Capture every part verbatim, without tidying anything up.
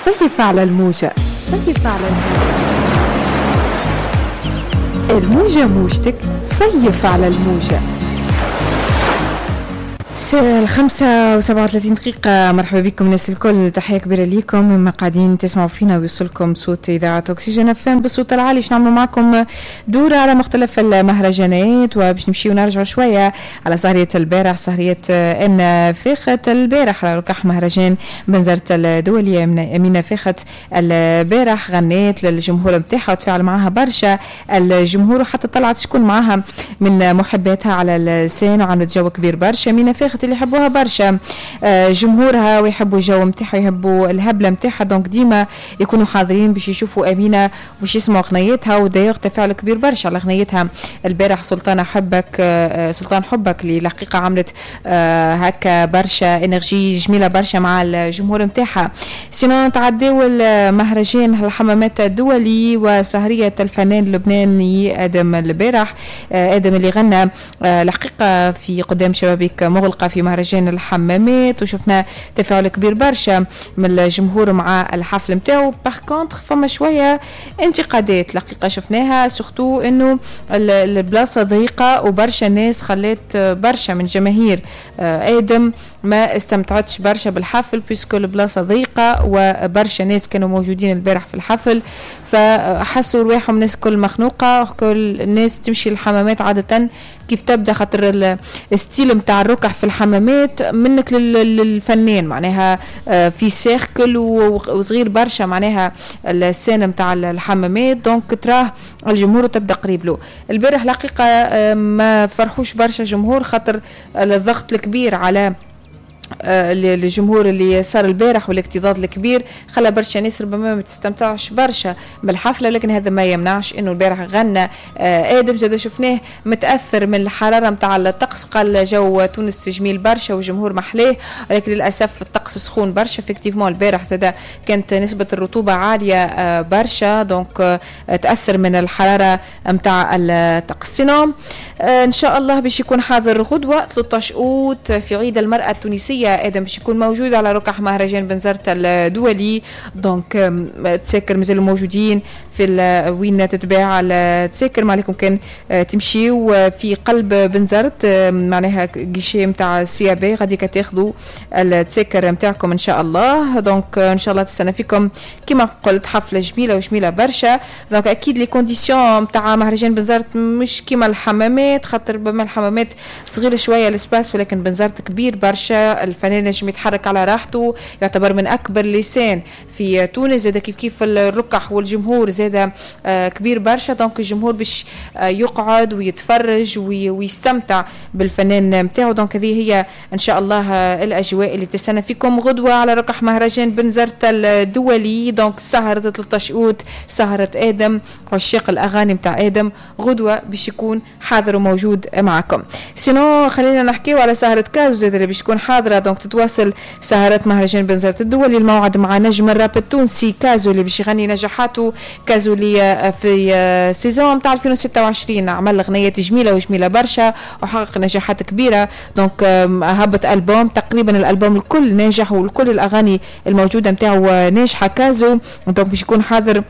صيف على الموجة، صيف على الموجة، الموجة موجتك، صيف على الموجة. الخمسة وسبعة وثلاثين دقيقة، مرحبا بكم الناس الكل، تحية كبيرة ليكم مما قاعدين تسمعوا فينا ويوصلكم صوت إذاعة أكسجين اف ام بالصوت العالي. باش نعملوا معكم دورة على مختلف المهرجانات وباش نمشيو ونرجعوا شوية على سهرية البارح، سهرية أمينة فاخت البارح على ركح مهرجان بنزرت الدولي. أمينة فاخت البارح غنيت للجمهور نتاعها وتفاعل معها برشا الجمهور، وحتى طلعت شكون معها من محباتها على ال scène وعملت جو كبير برشا. أمينة فاخت اللي يحبوها برشا جمهورها ويحبوا الجو نتاعها ويحبوا الهبلة نتاعها، donc ديما يكونوا حاضرين باش يشوفوا امينه وباش يسمعوا اغنيتها. و d'ailleurs تفاعل كبير برشا على اغنيتها البارح سلطانه حبك، سلطان حبك، اللي الحقيقة عملت هكا برشا énergie جميلة برشا مع الجمهور نتاعها. sinon نتعداو المهرجان الحمامات الدولي وسهريه الفنان اللبناني ادم البارح، ادم اللي غنى الحقيقة في قدام شبابيك مغلقة في مهرجان الحمامات، وشفنا تفاعل كبير برشا من الجمهور مع الحفل نتاعو. par contre فما شوية انتقادات الحقيقة شفناها، surtout انه البلاصة ضيقه وبرشا ناس خلات برشا من جماهير ادم ما استمتعتش برشا بالحفل puisque البلاصة ضيقه وبرشا ناس كانوا موجودين البارح في الحفل، فحسوا رواحهم الناس كل مخنوقه. كل الناس تمشي للحمامات عادة كيف تبدا، خاطر ال style نتاع الركح في الحمامات منك للفنان، معناها في cercle وصغير برشا معناها ال scène نتاع الحمامات، donc تراه الجمهور تبدا قريب له. البارح الحقيقة ما فرحوش برشا جمهور خاطر الضغط الكبير على الجمهور اللي صار البارح والاكتظاظ الكبير خلى برشا ناس ربما ما تستمتعش برشا بالحفله، لكن هذا ما يمنعش انه البارح غنى ادم. زاد شفناه متاثر من الحرارة نتاع الطقس، قال جو تونس جميل برشا والجمهور محلاه، ولكن للاسف الطقس سخون برشا. effectivement البارح زاد كانت نسبه الرطوبة عالية برشا، donc تاثر من الحرارة نتاع الطقس. sinon ان شاء الله باش يكون حاضر غدوه ثلاثة عشر اوت في عيد المراة التونسية، ادم باش يكون موجود على ركح مهرجان بنزرت الدولي، donc تساكر مازالوا موجودين في وين تتباع التساكر، ما عليكم كان تمشيو في قلب بنزرت معناها guichet نتاع CAB غادي تاخذوا التساكر نتاعكم ان شاء الله. donc ان شاء الله تستنى فيكم كما قلت حفلة جميلة وجميلة برشا. donc اكيد les conditions نتاع مهرجان بنزرت مش كيما الحمامات، خاطر بما الحمامات صغيرة شوية l'espace، ولكن بنزرت كبير برشا، الفنان نجم يتحرك على راحته، يعتبر من اكبر les scènes في تونس. زاد كيف كيف الركح والجمهور زاد كبير برشا، donc الجمهور باش يقعد ويتفرج ويستمتع بالفنان نتاعو. donc هذه هي ان شاء الله الاجواء اللي تستنى فيكم غدوه على ركح مهرجان بنزرت الدولي. donc سهرة ثلاثة عشر اوت، سهرة ادم، عشاق الاغاني نتاع ادم غدوه باش يكون حاضر وموجود معكم. sinon خلينا نحكيو على سهرة كازو زاد اللي باش تكون حاضره. donc تتواصل سهرات مهرجان بنزرت الدولي، الموعد مع نجم الراب التونسي كازو اللي باش يغني نجاحاته. كازو اللي في saison نتاع ألفين وستة وعشرين عمل اغنيات جميلة وجميلة برشا وحقق نجاحات كبيرة، donc هبط البوم تقريبا الالبوم الكل ناجح وكل الاغاني الموجودة نتاعو ناجحة كازو، donc باش يكون حاضر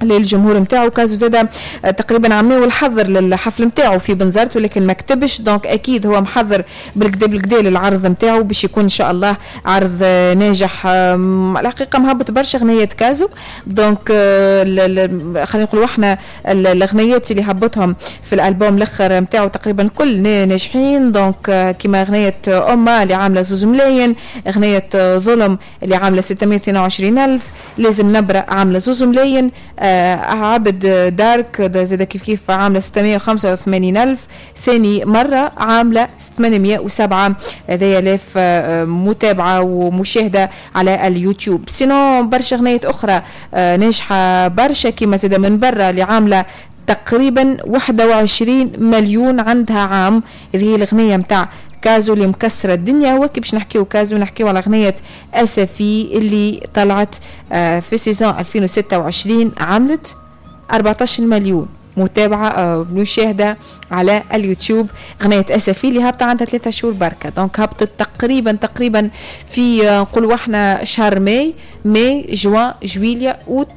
للجمهور نتاعو. كازو زاد تقريبا عملوا الحظر للحفل نتاعو في بنزرت ولكن ما كتبش، donc اكيد هو محضر بالكدا بالكدا للعرض نتاعو باش يكون ان شاء الله عرض ناجح. الحقيقة مهبط برشا اغنيات كازو، donc خلينا نقولوا احنا الاغنيات اللي هبطهم في الالبوم الاخر نتاعو تقريبا كل ناجحين. donc كيما اغنية امه اللي عامله زوز ملايين، اغنية ظلم اللي عامله ستمية واثنين وعشرين الف، لازم نبره عامله زوز ملايين، عبد دارك زاد كيف كيف عامله ستمية وخمسة وثمانين ألف، ثاني مرة عاملة ثمانمية وسبعة آلاف متابعة ومشاهدة على اليوتيوب. sinon برشا أغنية أخرى ناجحة برشا كيما زاد من برا اللي عاملة تقريبا واحد وعشرين مليون عندها عام، هذه هي الأغنية متاع كازو اللي مكسرة الدنيا. وكي باش نحكيو كازو نحكيو على أغنية أسفي اللي طلعت في saison ألفين وستة وعشرين عملت أربعة عشر مليون متابعه، آه، مشاهده على اليوتيوب. غنية اسفي اللي هابطة عندها ثلاثة شهور بركه، donc هبطت تقريبا تقريبا في آه، نقولوا احنا شهر ماي، ماي، جوان، جويليا، اوت،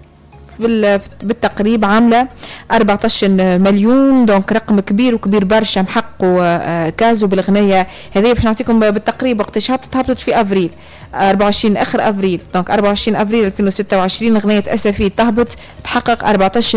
بالتقريب عامله أربعطاش مليون، donc رقم كبير وكبير برشا محققة آه، كازو بالاغنيه هذه. باش نعطيكم بالتقريب وقتاش هبطت، هبطت في افريل أربعة وعشرين، اخر افريل، donc أربعة وعشرين افريل ألفين وستة وعشرين اغنية اسفي تهبط تحقق أربعطاش